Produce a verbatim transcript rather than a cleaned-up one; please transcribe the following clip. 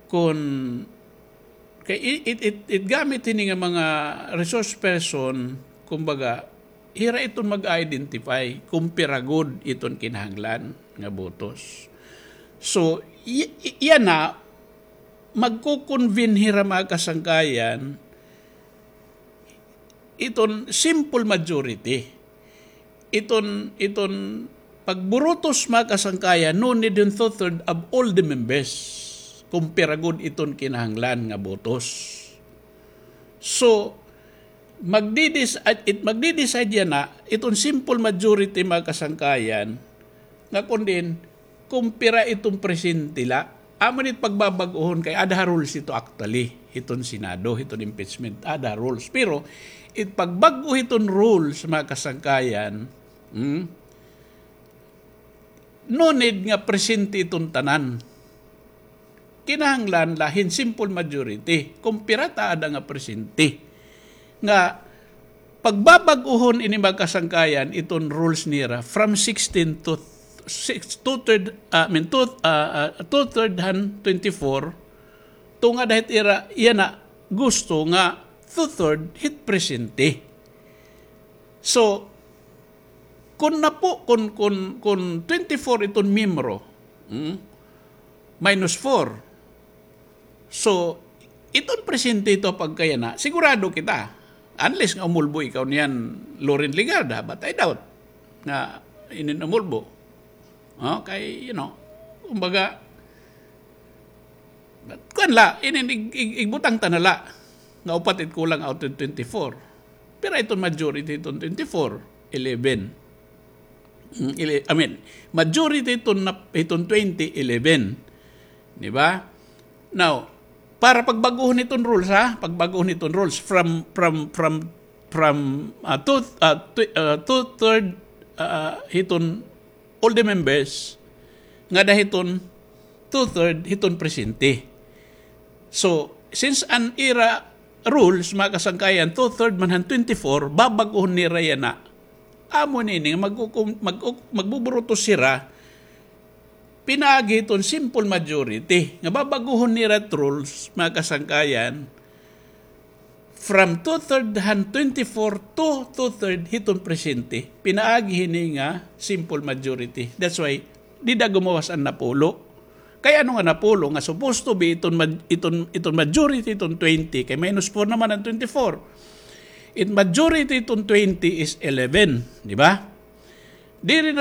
Kun kay it, it, it, it gamit hini nga mga resource person, kumbaga, hira iton mag-identify kung pira gud iton kinahanglan nga botos. So, y- y- yana, magko-convene hira, mga kasangkayan, iton simple majority. Iton, iton pagburutos, mga kasangkayan, no need hin two-third of all the members. Kung pira gud iton kinahanglan nga botos. So, magdidis-, it, magdideside yana, iton simple majority, mga kasangkayan, nga kun diin, kung pira iton presente la. Amo ni it pagbabag-ohon kay ada ha rules ito actually, hiton Senado, hiton impeachment, ada ha rules. Pero it pagbag-o hiton rules, mga kasangkayan, hmm, no need nga presente iton tanan. Kinahanglan la hin simple majority. Kung pira ta ada nga presente. Nga pagbabag-ohon ini, mga kasangkayan, iton rules nira from sixteen to six, two-third, ah, I mean, two, ah, ah, two-third han twenty-four, tungod hit ira, yana gusto nga two-third hit presente. So, kun napo-, kun, kun, kun twenty-four iton miyembro, hmm, minus four. So, iton presente ito pagkayana, sigurado kita. Unless nga umulbo ikaw niyan, Loren Legarda, but I doubt nga inin umulbo. Oh, kay, you know, kumbaga, kuan la, inin ig-, ig-, igbutang ta na la. Nga upat it kulang out of twenty-four. Pero iton majority iton twenty-four, eleven. Mm, ele-, I mean, majority iton nap-, iton twenty, eleven. Di ba? Now, para pagbag-ohon iton rules, ha? Pagbag-ohon iton rules from, from, from, from, ah, two, ah, tw-, ah, two-third, ah, hiton all the members, ngada hiton two-third hiton presente. So, since an ira rules, mga kasangkayan, two-third man han twenty-four, babag-ohon nira yana. Amo nini nga mag-, mag-, magbuburutos hira, pinaagi hiton simple majority. Nga babag-ohon nira it rules, mga kasangkayan, from two-third han twenty-four to two-third hiton presente. Pinaagi hini nga simple majority. That's why, dida gumawas an napulo. Kay ano nga napulo nga supposed to be iton ma-, iton, iton majority, iton twenty, kay minus four naman an twenty-four. It majority iton twenty is eleven, di ba? Diri